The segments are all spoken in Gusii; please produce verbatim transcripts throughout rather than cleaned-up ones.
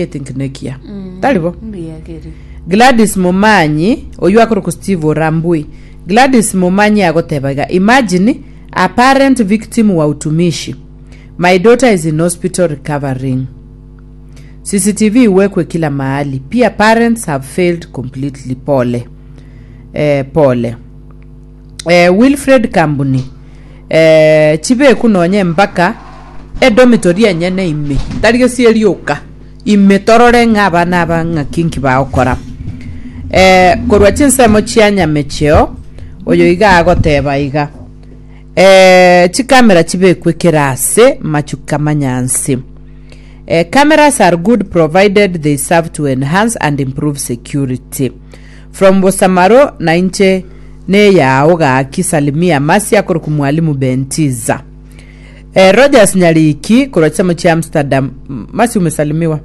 Think nekia tari bo. Mbuya keri. Gladys Momanyi oywo akorokwa Steve Orambui. Gladys Momanyi agoteba iga, imagine a parent victim wa utumishi. My daughter is in hospital recovering. C C T V iwekwe kila mahali. Pia parents have failed completely. Pole. Eh, pole. Eh, Wilfred Kambuni, eh, chibeku nonye mpaka edormitory enyene ime tari gesieri oka ime torore ng'a abana aba ng'aki nki bagokora. Eh, korwa chinsemo chia Nyamecheo oyo iga agoteba iga, eh, chikamera chibekwe kerase machuka manyansi. Eh, cameras are good provided they serve to enhance and improve security. From Bosamaro na inche neyao gaki salimia masi akoruku mwalimu Bentiza. Eh, Rogers Nyariki korwa chisemo chia Amsterdam. M- masi umesalimiwa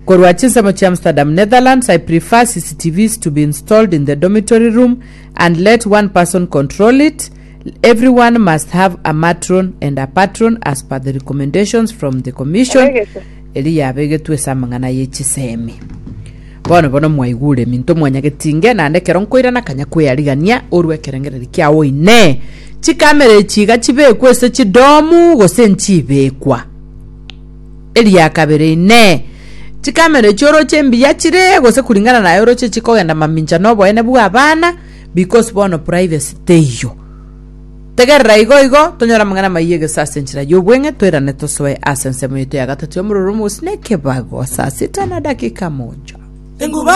korwa chisemo chia Amsterdam, Netherlands. I prefer C C T Vs to be installed in the dormitory room and let one person control it. Everyone must have a matron and a patron as per the recommendations from the commission. Abegete. Eri yabegetwe ase amang'ana ye chisemi. Bono bono mwaigure minto mwanyagetinge naende ekero nkoirana kanya kweyarigania orwe ekerengereri kiao ine chikamera echi iga chibekwe ase chidomu gose nchibekwa. Eria kabere ine chikamera echi oroche mbuya chire gose kulingana naye oroche chikogenda mamincha na oboene bwa abana because bono privacy teiyo. Tegerera igo igo tonyora amang'ana maiyo egesa ase enchera ya obweng'e toirane tosoe ase ensemo yetu ya gatatu ya omororo omogosi na ekebago saa sita na dakika moja. Enguba.